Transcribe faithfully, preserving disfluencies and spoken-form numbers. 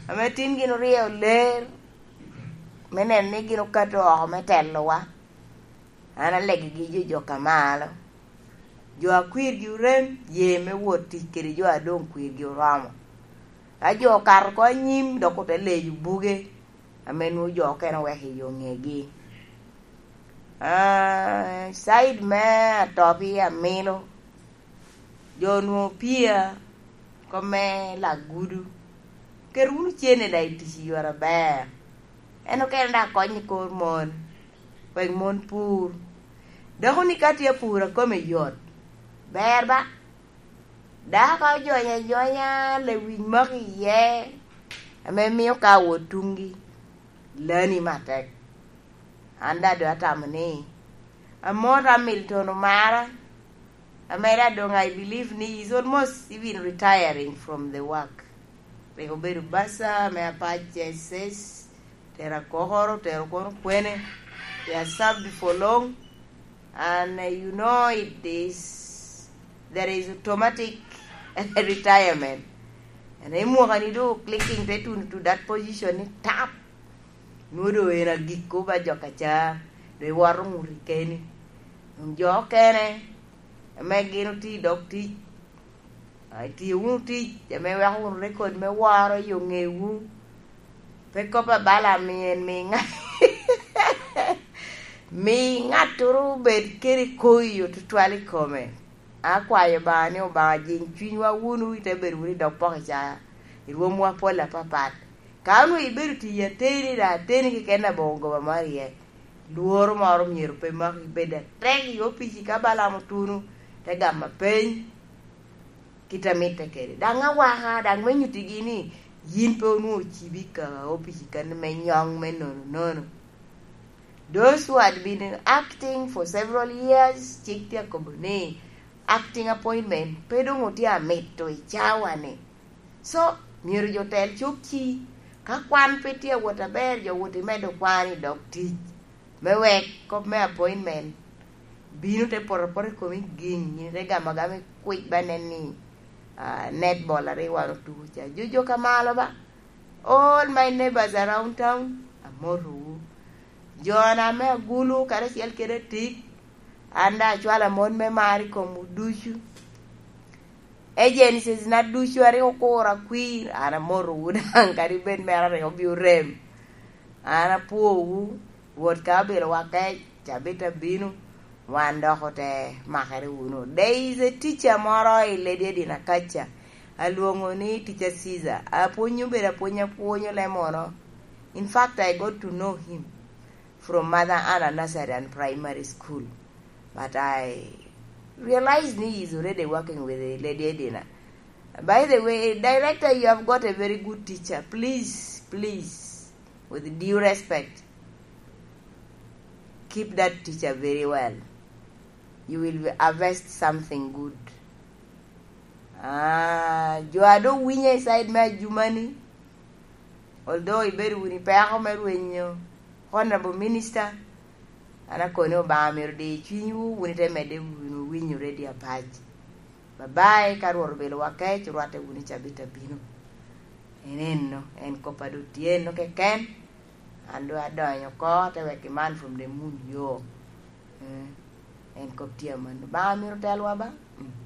Ame tin gin oryeyo ler me neno ni gin okato oko me telowa. An alegigi jo jok amalo. Jo a kwirgi orem, ye me wot tic kede jo a doŋ kwirgi oromo. Ka jo okato oko anyim, dok ote leyo buge ame nwoŋo jo okene oweko i yo ŋegi. Ah, side me atopi amilo, jo onwoŋo pia, kop me lagudu. Ket wunu cene daŋ i tic i yore aber. En okene daŋ kony i kor mon, wek mon pur. Dako ni ka tye apur a kome yot, ber ba. Dako ojonyo ajonya, lewic moko iye, ame mio ka awot tuŋgi, lani matek. An daŋ doŋ atamo ni, amot Hamilton omara, ame daŋ doŋ I believe ni he's almost even retiring from the work. Rik obedo basa me Apac S S, tero akokoro, tero kono kwene. He has served for long, and, uh, you know it is, there is automatic retirement. And i mwaka ni do clicking te tuno to that position ni tap. Nwoŋo doŋ en agikko ba jo kaca, doŋ iwoto ŋuti keni. Doŋ jo okene, ame gin otye i dog tic, a, itio wunu tic ame weko wunu rekod me woro i oŋewu. Pe kop abalo amien mi ŋa-, mi ŋattoro obed kede koyo tutwal i kome. Akwayo Obaŋa ni Obaŋa jiŋ cwinywa wunu, ite bedo wunu i dog poko ca, i rwomwa pol apapat. Ka onwoŋo ibedo tiyi ateni, daŋ ateni keken aboŋo goba moro iye, lworo moro myero pe maki, bed atek i opici ka Balaam otuno, te gamo peny kit a mitte kede. Daŋ awaka, daŋ me nyuttigi ni yin pe onwoŋo ocibi ka opici kani me nyoŋ me nono nono. Those who had been acting for several years, cik tye akobo ni acting appointment pe doŋ otye amito i cawa-ni. So, myero jo tel cuk ci, ka kwan pe tye awot aber, jo wot i medo kwan i dog tic, me wek kop me appointment bino te poto apota i komi giŋ, yin ite gamo agama i kwic ba nen ni, ah, netball a rik wan otuko ca. Jo, jo ka malo ba, all my neighbors around town, amotowu. Jo na me agulu karacel kede atik, an daŋ acwalo amot me mar i komwu ducu. Agencies na ducu a rik okuro akwir, an amotowu daŋ, kadi bed mere a rik obio rem. An apwowu, Rwot ka obilo wa kec, cabit abino, wan dok ote makere wunu. There is a teacher moro i Lady Edina kaca, alwoŋo ni Teacher Caesar. Apwonyo bedo apwony apwonyo lemono. In fact, I got to know him from Mother Anna Nursery and Primary School. But I realize ni he's already working with the Lady Edina. By the way, director, you have got a very good teacher. Please, please, with due respect, keep that teacher very well. You will harvest something good. Ah, jo a doŋ winyo i side me ajumani, although ibedo wunu i peko me rwenyo Honorable Minister, an akoni Obaŋa myero di cwinywu, wun ite medde wunu winyo Radio Apac. Bye bye, ka Rwot obilo wa kec, orwatte wunu i cabit abino. En enno, en kop a doŋ tye enno keken. An doŋ adonyo oko, te wek iman from the moon yo. Eh, en kop tye amanno. Obaŋa myero telwa ba. Mm.